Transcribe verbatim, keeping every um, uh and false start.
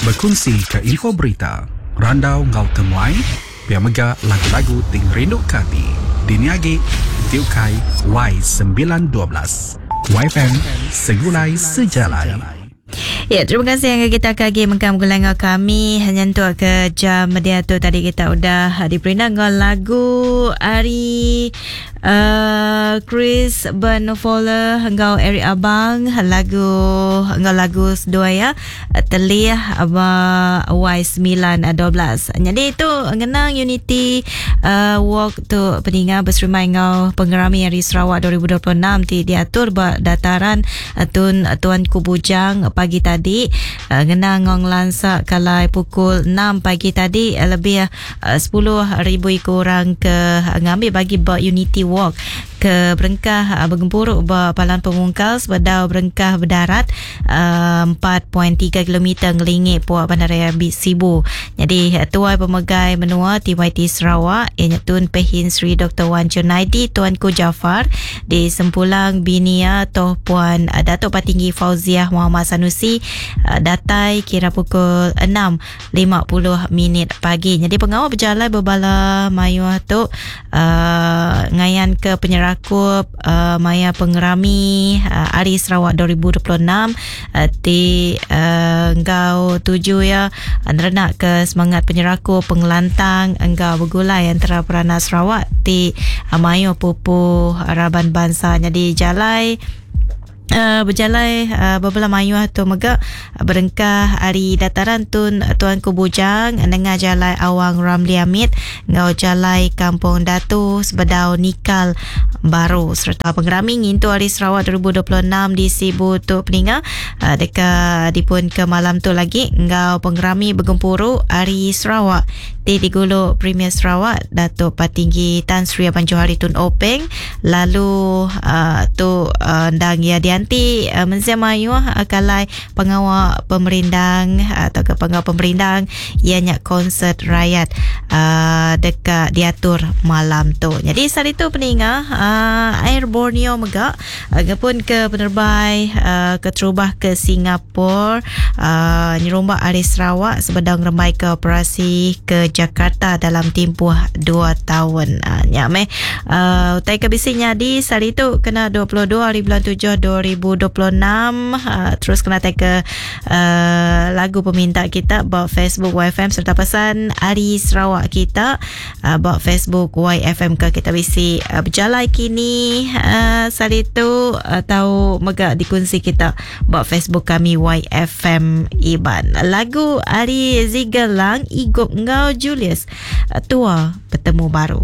Bekunsi ke info berita, randau enggau temuai, pia mega lagu-lagu ti ngerinduka ati. Dini agi ti ukai Y sembilan dua belas. Y F M Segulai Sejalai. Ya, terima kasih yang kita kagi mengkam gulai ngau kami nyentuk ke jam dia tu tadi kita udah diperintah ngau lagu ari uh, Chris Ben Fowler ngau Eric Abang lagu ngau lagu sedua ya telih aba Y sembilan dua belas. Jadi itu ngenang Unity uh, Walk tu peninga berserimai ngau pengerami hari Sarawak dua ribu dua puluh enam ti diatur ba dataran Tun Tuanku Bujang pagi tadi uh, ngenang ngong lansak kalai pukul enam pagi tadi uh, lebih uh, sepuluh ribu ikut orang ke uh, ngambil bagi ba Unity Walk ke berengkah uh, bergempuruk ba Palan Pemungkal sebedau berengkah berdarat uh, empat perpuluhan tiga kilometer ngelingi puak Bandaraya Sibu. Jadi uh, tuai pemegai menua T Y T Sarawak ianya Tun Pehin Sri Doktor Wan Junaidi Tuanku Jaafar di Sempulang Binia Toh Puan uh, Datuk Patinggi Fauziah Muhammad Sanusi uh, datai kira pukul enam lima puluh minit pagi. Jadi pengawal berjalan berbala mayuh tu uh, ngayan ke penyerakup uh, maya pengerami uh, Hari Sarawak dua ribu dua puluh enam uh, ti uh, engkau tuju ya nerenak ke semangat penyerakup pengelantang engkau bergulai antara peranak Sarawak ti uh, mayu pupu raban bangsa. Jadi jalai Uh, berjalan uh, beberapa mayu atau megak berengkah hari dataran Tun Tuanku Bujang nengah jalai Awang Ramli Hamid ngau jalai Kampung Datu sebedau Nikal Baru serta pengerami ngintu Hari Sarawak dua ribu dua puluh enam di Sibu tu peninga uh, dekat dipun ke malam tu lagi ngau pengerami bergempuru Hari Sarawak ti digulu Premier Sarawak Datuk Patinggi Tan Sri Abang Johari Tun Openg lalu uh, tu uh, ndang ya dia nanti uh, mensia mayuh uh, kalai pengawal pemerindang uh, atau ke pengawal pemerindang ianya konsert rakyat uh, dekat diatur malam tu. Jadi saat itu peninga uh, Air Borneo megak uh, pun ke penerbai uh, ke terubah ke Singapura uh, nyerumbak Hari Sarawak sebedang remai ke operasi ke Jakarta dalam tempoh dua tahun. Uh, nyameh uh, utai ke bisinya di saat itu kena dua puluh dua hari bulan tujuh dua ribu dua puluh enam uh, terus kena tag ke uh, lagu peminta kita bawah Facebook Y F M serta pesan Hari Sarawak kita uh, bawah Facebook Y F M ke kita bisi uh, berjalan kini uh, saat itu atau uh, megak dikunci kita bawah Facebook kami Y F M Iban. Lagu Ari Zigalang Igop Ngau Julius uh, tua bertemu baru.